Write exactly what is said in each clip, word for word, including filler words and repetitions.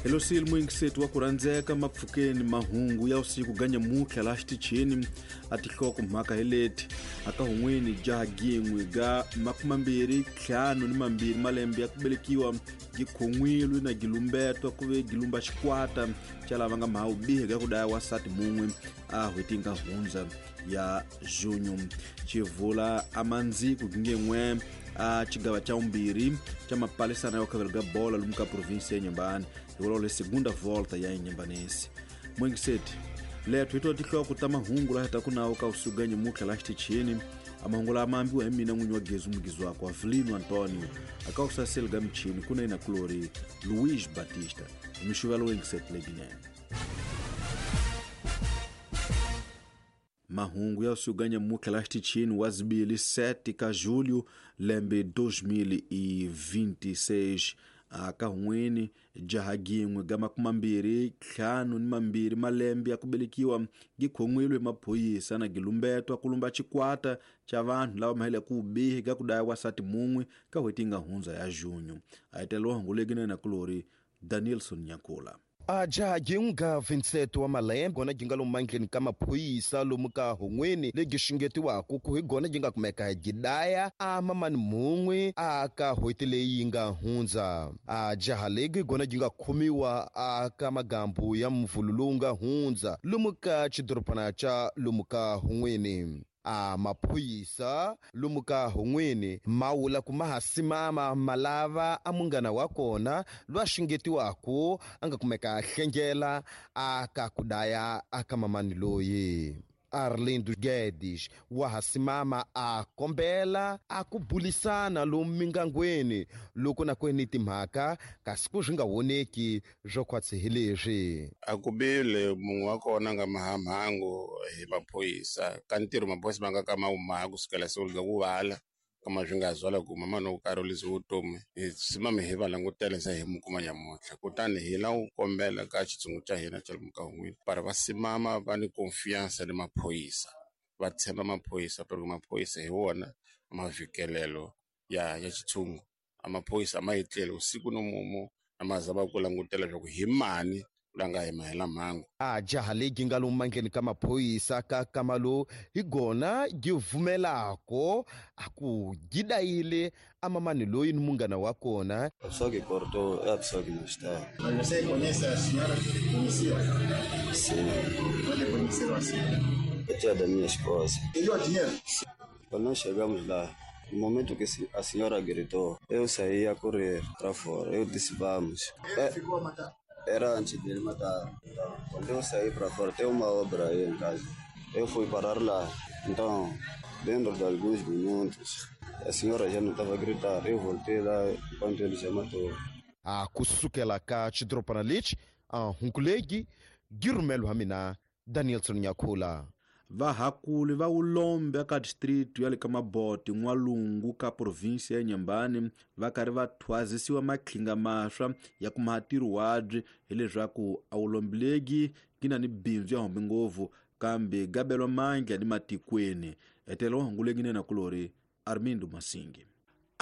Hello muyingiseti wa ku rhandzeka mapfukeni mahungu ya usiku ganyamutlha laha xitichini a tinhloko mhaka hi leti aka hun'wini jaha gin'we ga makumambirhi ntlhanu ni mambirhi malembe ya ku velekiwa gikhon'wilwe na gilumbetwa ku ve gilumba xikwata xa lava nga mhawu bihi ga ku daya wasati mun'we a hweti nga hundza ya junho xivula amandziku gingen'we a xigava xa vumbirhi xa mapalisana ya khavelo ga bola lomu ka provinsi ya Inhambane hi vulavula segunda volta ya Inhambanense muyingiseti lethu hi twa tinhloko ta mahungu laha ta ku nawu ka usiku nyamutlha laha xitichini a mahungu lama ambiwa hi mina n'winyi wa gezu mugizi wakwe Avelino Antonio aka ku saseli ga michini ku na yina kulori Luiz Batista hi mixuvelo yingiseti leyinene. Mahungu ya usiku nyamutlha laha xitichini wa zibili sete ka julho lembe dois mil e vinte e seis aka hun'wini jaha gin'we ga makumambirhi ntlhanu ni mambirhi malembe ya ku velekiwa gikhon'wilwe hi maphorisa na gilumbetwa ku lumba xikwata xa vanhu lava mahele ku bihi ga ku daya wasati mun'we ka n'hweti yi nga hundza ya junho a hetelela hungu legi na yena kulori Danielson Nyakula. A jaha gin'we ga vinte e sete wa malembe gona gi nga lomu mandleni ka maphorisa lomu ka hun'wini legi xungetiwaku ku hi gona gi nga kumeka gi daya a mamani mun'we a ka n'hweti leyi yi nga hundza. A jaha legi gona gi nga khomiwa a ka magambu ya mvulu lowu nga hundza lomu ka xidorobana xa lomu ka hun'wini. A maphorisa lomu ka hun'wini ma wula ku ma ha simama ma lava a munghana wa kona lwa xungetiwaku a nga kumeka a hlengela a ka ku daya a ka mamani loyi. Arlindo Guedes wa ha simama a kombela a ku bulisana lomu mingangweni loko na kweni timhaka kasi ku swi nga voneki swo khwatsi hi leswi. A ku bile munhu wa kona nga mahamhangu hi maphorisa ka ntirho maphorisa ma nga ka ma wu kusukela siku ga ku vala kama swi nga zwala ku mama no karolisa vutomi hi simama hi va langutela se hi mu kuma nyamutlha kutani hi la ku kombela ka xitshungu xa hina xa lomu ka hun'wini para va simama va ni confiance ni maphorisa va tshemba maphorisa porque maphorisa hi wona mavikelelo ya ya xitshungu a maphorisa a ma etleli usiku no mumu a ma zama ku langutela leswaku hi mani la nga hi mahela mhangu. A jaha legi nga lomu mandleni ka maphorisa ka kamalo hi gona gi vumelako a ku gi dayile a mamani loyi ni munghana wa kona. A pessoa que cortou é a pessoa que não está. Mas você conhece a senhora que conhecia? Sim. Onde conheceram a senhora? A tia da minha esposa. Deu dinheiro? Quando nós chegamos lá, no momento que a senhora gritou, eu saí a correr para fora. Eu disse, vamos. Ele é... ficou a matar? Era antes dele matar. Então, quando eu saí para fora, tem uma obra aí em casa. Eu fui parar lá. Então, dentro de alguns minutos, a senhora já não estava a gritar. Eu voltei lá enquanto ele já matou. A kusukela ka xidorobana lexi a hunkulegi girumelo wa mina Danielson Nyakula. Vahakuli va wulombe aka district ya le ka Maboti n'walungu ka provinsi ya Inhambane va karhi va thwazisiwa matlhinga maswa ya ku maha ntirho wabyi hileswaku a wulombe legi gi na ni bindzu ya hombe ngopfu kambe gabelwa mandla ni matikweni etela wa hungu legi nena kulori Armindo Masingi.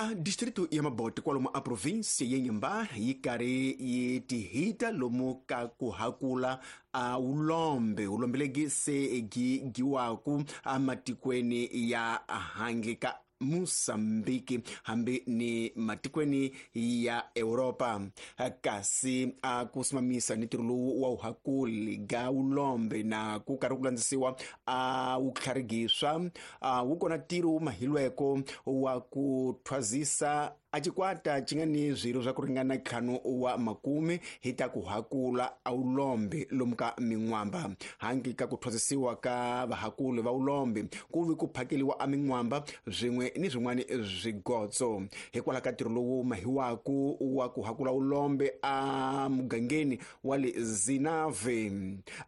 A distrito ya Maboti kwalomu a provinsi ya Inhambane yi karhi yi tihita lomu ka ku hakula a wulombe wulombe legi se gi giwaku amatikweni ya handle ka Mozambique hambi ni matikweni ya Europa kasi a ku simamisa ni ntirho lowu wa wuhakuli ga wulombe na ku karhi ku landzisiwa a wu tlharigiswa a wu kona ntirho wu mahilweko wa ku thwazisa a xikwata xi nga ni swirho swa ku ringana ntlhanu wa makume hi ta ku hakula a wulombe lomu ka min'wamba handle ka ku thwasisiwa ka vahakuli va wulombe ku vi ku phakeliwa a min'wamba swin'we ni swin'wana swigotso hikwalaho ka ntirho lowu mahiwaku wa ku hakula wulombe a mugangeni wa le Zinave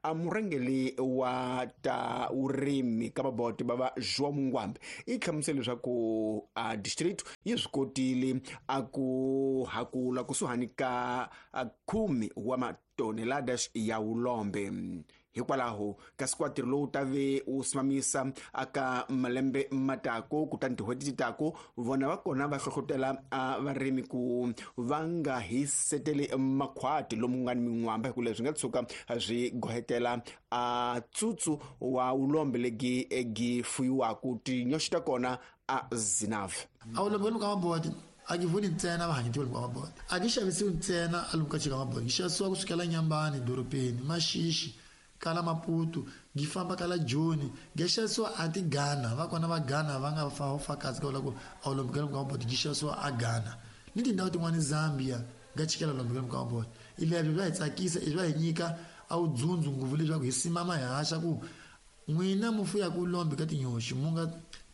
a murhangeli wa ta vurimi ka Maboti bava João Mungwambe i hlamusele leswaku a district yi swi kotile kotile a ku hakula kusuhani ka khume wa matoneladas ya ulombe. Hikwalaho kasi kwa ntirho lowu ta ve wu simamisa aka malembe matako kutani tin'hweti ti tako vona va kona va hlohlotela varimi ku va nga hiseteli makhwati lomu nga ni min'wamba hi ku leswi nga tshuka swi gohetela a tsutsu wa ulombe legi gi fuyiwaku tinyoxi ta kona a zinave. A ulombe lomu ka maboti a ki voni ntsena vahanyetiwa lomu ka maboti, a ki xavisiwi ntsena a lomu ka chika maboti, ki xavisiwa kusukela Nyambani dorobeni Maxixi kala Maputo gi famba kala Joni gi xavisiwa a ti Ghana va kona va Ghana va nga fa fakazi ka ku a ulombe lomu ka maboti gi xavisiwa a Ghana ni tindhawu tin'wani Zambia nga chikela ulombe lomu ka maboti. Ilebyo bya hi tsakisa i bya hi nyika a wu dzundzu ngopfu leswaku hi simama hi haxa ku n'wina mu fuyaku ulombe ka tinyoxi mu nga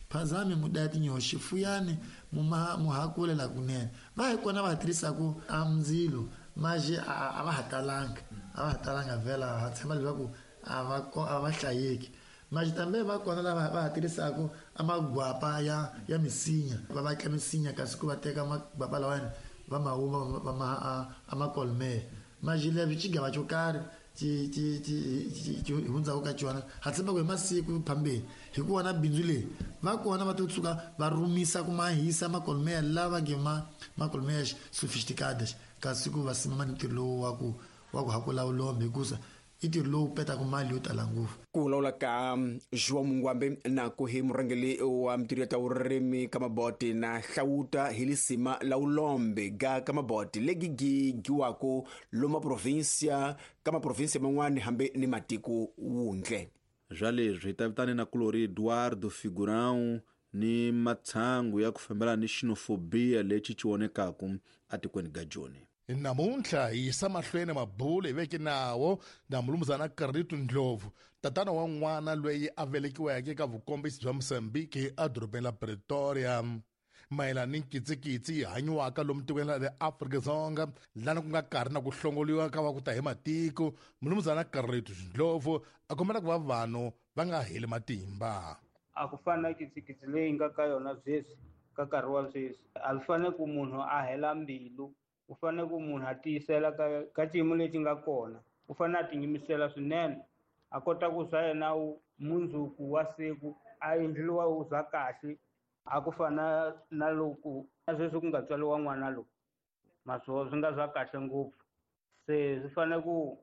phazami mu daya tinyoxi fuyani mu mu hakulela kunene. Va hi kona va tirhisaku a ndzilo maje a va ha talanga a va ha talanga vhela ha tshemba leswaku a va a va hlayeki maje tambe va kona lava va ha tirhisaku a magwapa ya ya misinya va vatla misinya kasi ku va teka magwapa lawani va ma huma va ma a makolme maje leswi xigava xo karhi ti ti ti ti hundzaku ka xona ha tshemba ku hi masiku phambeni hi ku vona bindzu leyi va kona va to tshuka va rumisa ku mahisa makolmeya lava nge ma makolmeya sophisticadas kasi ku va simama ni ntirho lowu wa ku wa ku hakula ulombe hikusa i ntirho lowu petaka mali yo tala ngopfu. Ku vulavula ka João Mungwambe na ku hi murhangeri wa mintirho ya ta vurimi ka maboti na hlawuta hi lisima la ulombe ga ka maboti legi gi giwako loma provinsia ka maprovinsia man'wani hambi ni matiko wundle. Zwa leswi hi ta vitana na kulori Eduardo Figurão ni matshangu ya ku fambelana ni xenofobia lexi xi vonekaku atikweni ga Joni. Namuntlha hi yisa mahlweni mabulo hi veke nawo na mulumuzana Carlito Ndlovu, tatana wa n'wana loyi a velekiweke eka vukombisi bya Mozambique edorobeni la Pretoria, mayelana ni nkitsikitsi yi hanyiwaka lomu tikweni ra le Afrika-Dzonga lana ku nga karhi na ku hlongoliwa ka va ku ta hi matiko. Mulumuzana Carlito Ndlovu a kombela ku va vanhu va nga heli matimba. A ku fana na kitsikitsi leyi nga ka yona sweswi ka nkarhi wa sweswi a swi fanele ku munhu a hela mbilu, u fanele ku munhu a tiyisela ka ka xiyimo lexi nga kona, u fanele a tiyimisela swinene a kota ku swa yena mundzuku wa siku a endliwa wu za kahle a ku fana na loko na sweswi ku nga tswariwa n'wana lowu maswo swi nga swa kahle ngopfu. Se swi fanele ku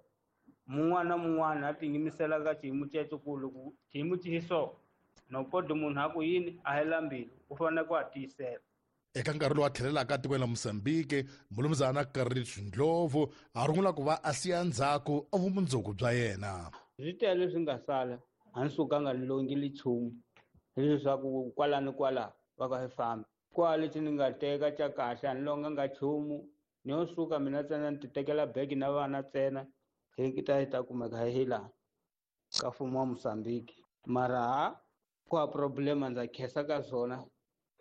mun'wana na mun'wana a tiyimisela ka xiyimo xexo ku loko xiyimo xi hi so no koti munhu a ku yini a hela mbilu, u fanele ku a tiyisela. Eka nkarhi lowu a tlhelelaka tikweni la Mozambique, mulumuzana Carlito Ndlovu a rungula ku va a siya ndzhaku a vumundzuku bya yena. Swi tele leswi nga sala a ni sukanga ni longile nchumu hileswaku kwala ni kwala va ka hi famba kwala lexi ni nga teka xa kahle a ni longanga nchumu ni yo suka mina ntsena ni ti tekela bege na vana ntsena hi ta hi ta kumeka hi laha ka mfumo wa Mozambique. Mara ha ku ha problema ndza khensa ka swona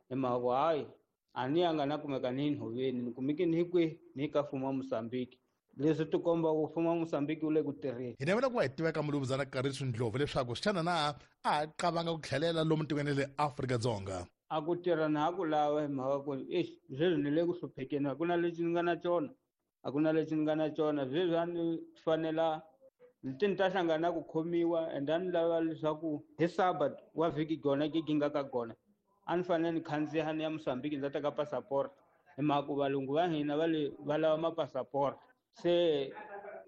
hi mhaka ku hayi a ni yanga na kumeka ni nhoveni ni kumeke ni hi kwihi ni ka mfumo wa Mozambique. Leswi ti komba ku mfumo wa Mozambique wu le ku tirheni. Hi navela ku va hi tiveka mulumuzana Carlito Ndlovu leswaku xana na a qavanga ku tlhelela lomu tikweni le Afrika-Dzonga. A ku tirha na ha ku lava hi mhaka ku exi sweswi ni le ku hluphekeni a ku na lexi ni nga na xona a ku na lexi ni nga na xona sweswi a ni fanela ti ni ta hlangana na ku khomiwa and a ni lava leswaku hi Sabat wa vhiki gona gigi nga ka gona a ni fanele ni khandziya ni ya Mozambique ndza teka passport hi mhaka ku valungu va hina va le va lava mapasaport. Se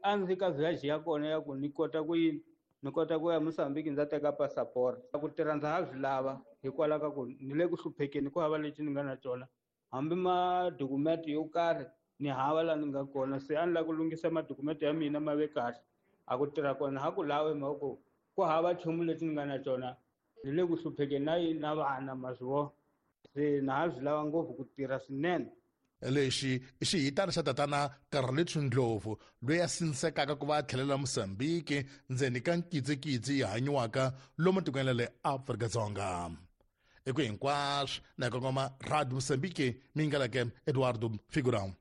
a ndzi ka viage ya kona ya ku ni kota ku yini ni kota ku ya Mozambique ndza teka passport. Ku tirha ndza ha swi lava hikwalaho ka ku ni le ku hluphekeni ku hava lexi ni nga na xona hambi madokumenti yo karhi ni hava laha ni nga kona. Se a ni lava ku lunghisa madokumenti ya mina ma ve kahle a ku tirha kona ha ku lavi hi mhaka ku ku hava nchumu lexi ni nga na xona ni le ku hluphekeni na yini na vana ma swi vona se na ha swi lava ngopfu ku tirha swinene. Lexi i xihitana xa tatana Carlito Ndlovu loyi a sindzekaka ku va a tlhelela Mozambique ndzeni ka nkitsikitsi yi hanyiwaka lomu tikweni ra le Afrika-Dzonga. Eku hinkwaswo na kongoma Radio Mozambique mi ngalake Eduardo Figurão.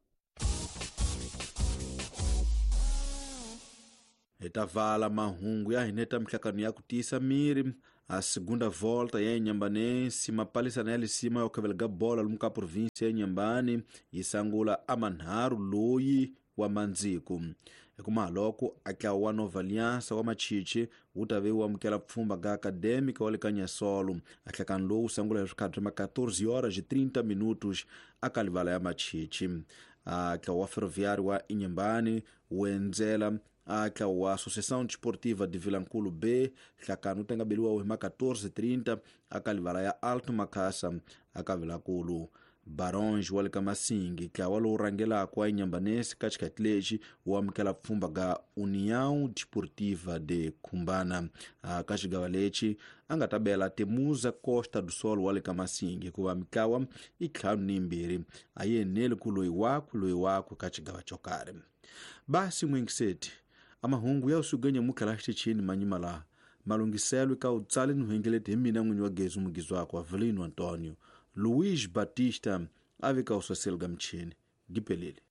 Hi ta vala mahungu ya hina ta mihlakano ya ku tiyisa miri A segunda volta ya Inhambanense mapalisana ya lisima ya khavelega bola lomu ka província ya Inhambane yi sangula a manharhu loyi wa mandziku hikuma loko a tlawa wa Nova Aliança wa Machichi wu ta ve wu amukela pfhumba ga Acadêmica wa le ka Nyasolo. A hlakani lowu wu sangula hi swikhathi ma quatorze horas e trinta minutos a ka livala ya Machichi. A tlawa wa Ferroviário wa Inhambane wu endzela a tlawa wa Associação Desportiva de Vilankulo B. Hlakani wu tenga beliwa hi ma quatorze e trinta a ka livala ya Alto Makhasa a ka Vilankulu. Baronge wa le ka Masingi tlawa lowu rhangelaka wa Inhambanense ka xikhathi lexi wu amukela pfhumba ga União Desportiva de Khumbana. Ka xigava lexi a nga ta bela Temuza Costa do Sol wa le ka Masingi hikuva mitlawa i ntlhanu ni yimbirhi a yi eneli ku loyi wakwe loyi wakwe ka xigava xo karhi. Basi n'wingiseti a mahungu ya usugenya mukhala xitichini manyima laha malunghiselwe ka utsali ni huengeleti hi mina n'winyi wa gezi mugizi wakwe Avelino Antonio Luiz Batista a vika uswaseli ga michini gipelele.